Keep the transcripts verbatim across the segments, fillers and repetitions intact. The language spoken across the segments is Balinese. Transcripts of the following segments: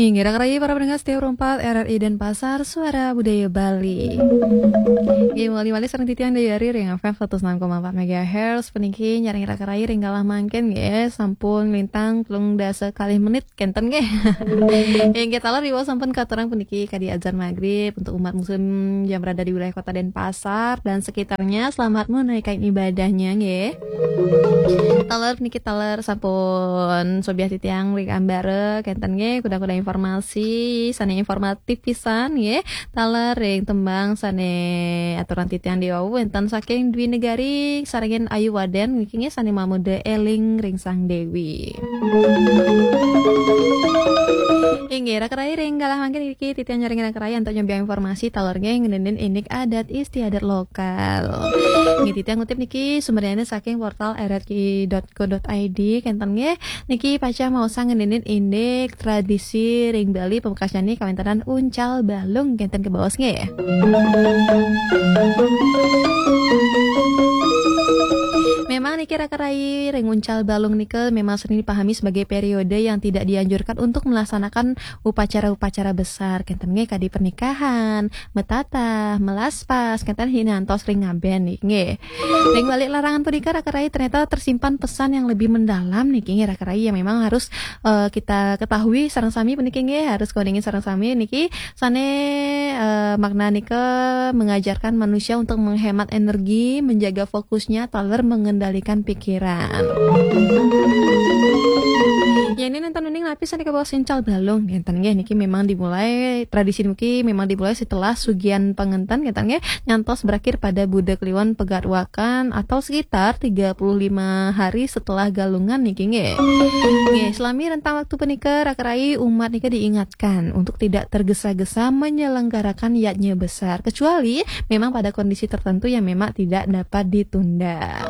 Inggih, raka rayi para pendengar setia Pro empat R R I Denpasar, Suara Budaya Bali. Inggih, mawali malih sareng titiang Dayari ring F M seratus enam koma empat megahertz, puniki nyarengin raka rayi ring galah mangkin nggih, sampun nglintang telung dasa kalih menit kenten nggih. Inggih, taler riwau sampun katurang puniki kadi azan magrib untuk umat muslim yang berada di wilayah Kota Denpasar dan sekitarnya, selamat menunaikan ibadahnya nggih. Taler niki taler sampun sobiah titiang ring ambara kenten nggih, kuda-kuda informasi sane informatif pisan nggih. Taler ring tembang sane aturan titiang diwau wenten saking Dwi Negari sarengin Ayu Waden niki nggih, sane mamuda Eling ring Sang Dewi. Inggih, raka rayi ring galah mangkin niki titiang nyarengin raka rayi antuk nyobiah informasi taler nggih ngeninin indik adat istiadat lokal. Nggih, titiang ngutip niki sumbernyane saking portal R R I dot co dot I D kenten nggih. Niki pacang maosang ngeninin indik tradisi ring Bali pamekasnyane kawentenan uncal balung kenten kebaos nggih. Memang niki raka rayi ring uncal balung nika memang sering dipahami sebagai periode yang tidak dianjurkan untuk melaksanakan upacara-upacara besar kenten nggih kadi pernikahan, metatah, melaspas, kenten hinantos ring ngaben niki nggih. Ring balik larangan punika raka rayi ternyata tersimpan pesan yang lebih mendalam niki nggih raka rayi yang memang harus eh, kita ketahui sareng sami puniki nggih, harus kauningin sareng sami niki sane eh, makna nika mengajarkan manusia untuk menghemat energi, menjaga fokusnya, taler mengendalikan pikiran. Yen nenten uning napi sane kebaos uncal balung kenten nggih, niki memang dimulai, tradisi niki memang dimulai setelah sugihan pangenten kenten nggih, nyantos berakhir pada Buda Kliwon Pegat Wakan atau sekitar tiga puluh lima hari setelah Galungan niki nggih. Nggih, selami rentang waktu punika raka rayi umat nika diingatkan untuk tidak tergesa-gesa menyelenggarakan yadnya besar kecuali memang pada kondisi tertentu yang memang tidak dapat ditunda.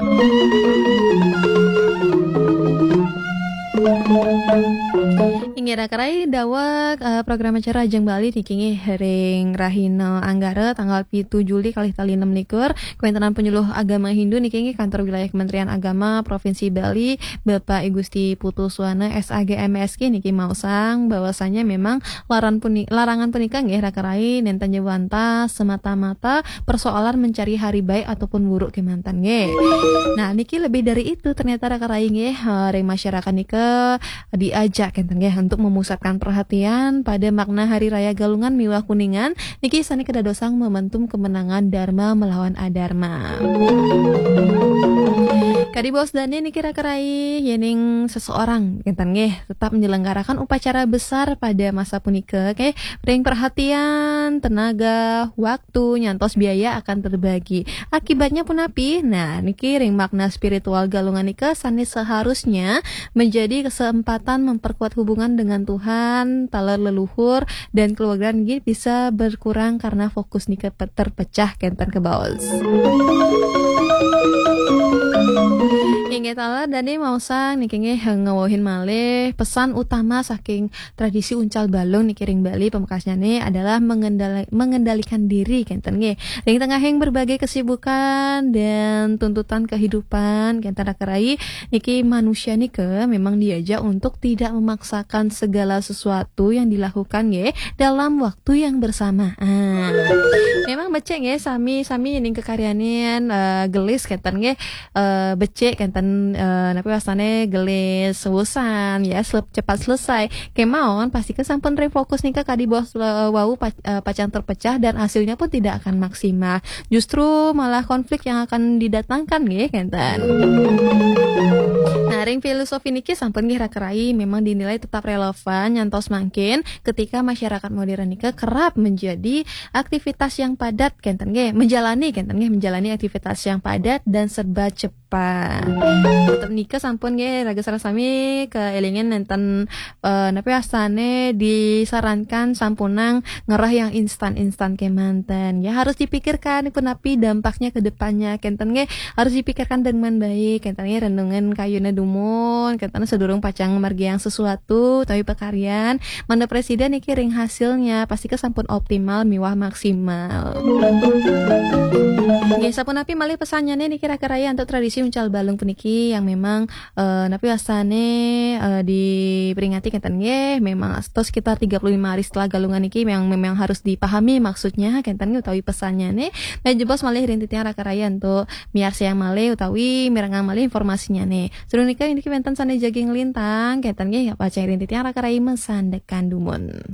Inggih raka rayi daweg eh, program acara Ajeng Bali niki nggih ring rahina Anggara tanggal pitu Juli kalih tali enam likur, kawentenan penyuluh agama Hindu niki nggih kantor wilayah Kementerian Agama Provinsi Bali, Bapak I Gusti Putu Suwana S A G M S K niki maosang bahwasanya memang laran puni, larangan punika nggih raka rayi nenten jawanta semata-mata persoalan mencari hari baik ataupun buruk kemanten nggih. Nah, niki lebih dari itu ternyata raka rayi nggih, eh, ring masyarakat nika diajak kenten nggih untuk memusatkan perhatian pada makna Hari Raya Galungan miwah Kuningan niki sane kedadosang momentum kemenangan Dharma melawan Adharma. Kadi baos dane niki raka rayi, yening seseorang kenten nggih tetap menyelenggarakan upacara besar pada masa punika, oke, ring perhatian, tenaga, waktu, nyantos biaya akan terbagi. Akibatnya punapi? Nah, niki ring makna spiritual Galungan nika sane seharusnya menjadi kesempatan memperkuat hubungan dengan Tuhan, taler leluhur, dan keluarga niki bisa berkurang karena fokus nika pe-, terpecah kenten kebaos. Inggih taler dane maosang niki nggih ngawuhin malih pesan utama saking tradisi uncal balung niki ring Bali pamekasnyane adalah mengendali-, mengendalikan diri kenten nggih. Ring tengahing berbagai kesibukan dan tuntutan kehidupan kenten raka rayi niki manusia nika memang diajak untuk tidak memaksakan segala sesuatu yang dilakukan nggih dalam waktu yang bersamaan. Memang becik nggih sami-sami ning kekaryanin eh, gelis kenten nggih eh, becik kenten eh, napi wastane gelis urusan ya sel-, cepat selesai. Kemawon pastika sampun ring fokus nika kadi baos eh, wau pac-, eh, pacang terpecah dan hasilnya pun tidak akan maksimal. Justru malah konflik yang akan didatangkan nggih kenten. Nah, ring filosofi niki sampun nggih raka rayi memang dinilai tetap relevan nyantos mangkin ketika masyarakat modern nika kerap menjadi aktivitas yang padat kenten nggih, menjalani kenten nggih, menjalani aktivitas yang padat dan serba cepat. Tetep nika sampun nggih raga sareng sami kaelingin nenten eh, napi wastane disarankan sampunang ngerah yang instan-instan kemanten. Ya harus dipikirkan punapi dampaknya ke depannya kenten nggih. Harus dipikirkan dengan baik kenten nggih, renungan kayune dumun kenten sedurung pacang margiang sesuatu tapi pakaryan mangda presiden niki ring hasilnya pastika sampun optimal miwah maksimal. Nggih, sapunapi malih pesannyane niki raka rayi antuk tradisi uncal balung puniki? niki yang memang eh, napi wasane eh, diperingati kenten nggih, memang atau sekitar tiga puluh lima hari setelah Galungan niki memang memang harus dipahami maksudnya kenten nggih utawi pesannya nih. Nah, jebos malih ring titiang Raka Raya untuk miarsa yang malih utawi mirengang malih informasinya nih. Sedurung nika niki wenten sane jagi ngelintang kenten nggih, pacang ring titiang Raka Raya masandekan dumun.